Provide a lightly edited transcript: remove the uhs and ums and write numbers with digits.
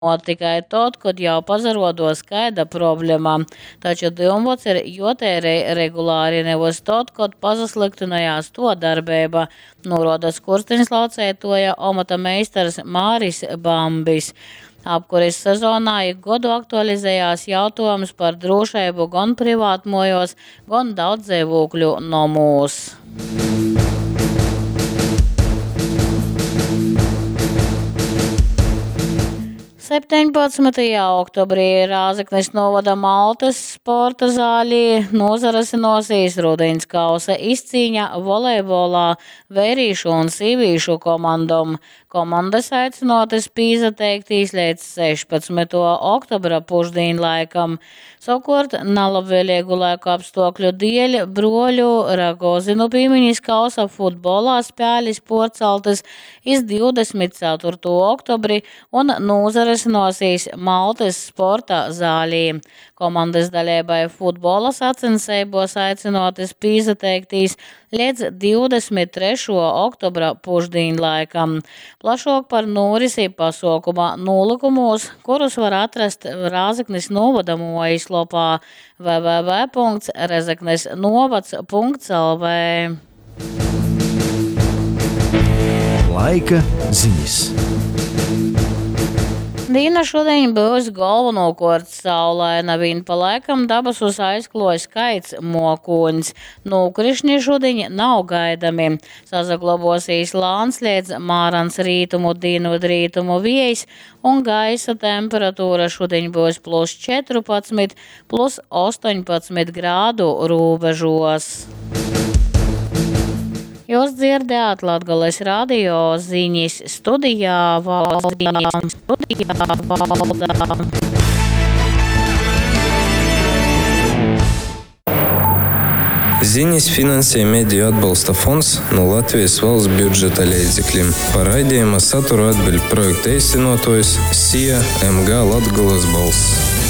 Tikai tod, kod jau pasaruoduos kaida problema. Taču dyumvods ir juoteirej regulāri, navys tod, kod pasaslyktynojās tuo darbeiba, nūruoda skursteņslauceituoja omota meistars Māris Bambis. Apkuris sezonā ik godu aktualizejās jautuojums par drūšeibu gon privātmuojuos, gon daudzdzeivūkļu nomūs. 17. oktobrī Rāzeknis novada Maltys sporta zālī nūsarysynōsīs rudiņs kausa izcīņa volejbolā veirīšu un sīvīšu komandom. Komandys aicynuotys pīsateiktīs leidz 16. oktobra pušdīņlaikam. Savukuort nalabvēlīgu laika apstuokļu dieļ bruoļu Ragozinu pīminis kausa futbolā spēlis puorcaltys iz 24. oktobri un nūsarysynuosīs Maltys sporta zālī. Komandys daleibai futbola sacenseibuos aicynuotys pīsateiktīs leidz 23. oktobra pušdīņlaikam. Plašuok par nūrisi pasuokuma nūlykumūs, kurus var atrast Rāzeknis nūvoda muojislopā www.rezeknesnovads.lv. Laika zinis. Dīna šudiņ byus golvonūkuort saulaina, viņ pa laikam dabasus aizkluos kaids muokūņs. Nūkrišni šudiņ nav gaidami. Sasaglobuosīs lāns leidz mārans rītumu dīnvydrītumu viejs un gaisa temperatūra šudiņ byus plus 14, plus 18 grādu rūbežos. Jūs dzirdējāt Latgales radio ziņas studijā Valda. Studijā Valda. Ziņas finansē Mediju atbalsta fonds no Latvijas valsts budžeta leidzekļiem. Par raidījuma saturu atbild projekta īstenotojs SIA MG Latgolas balss.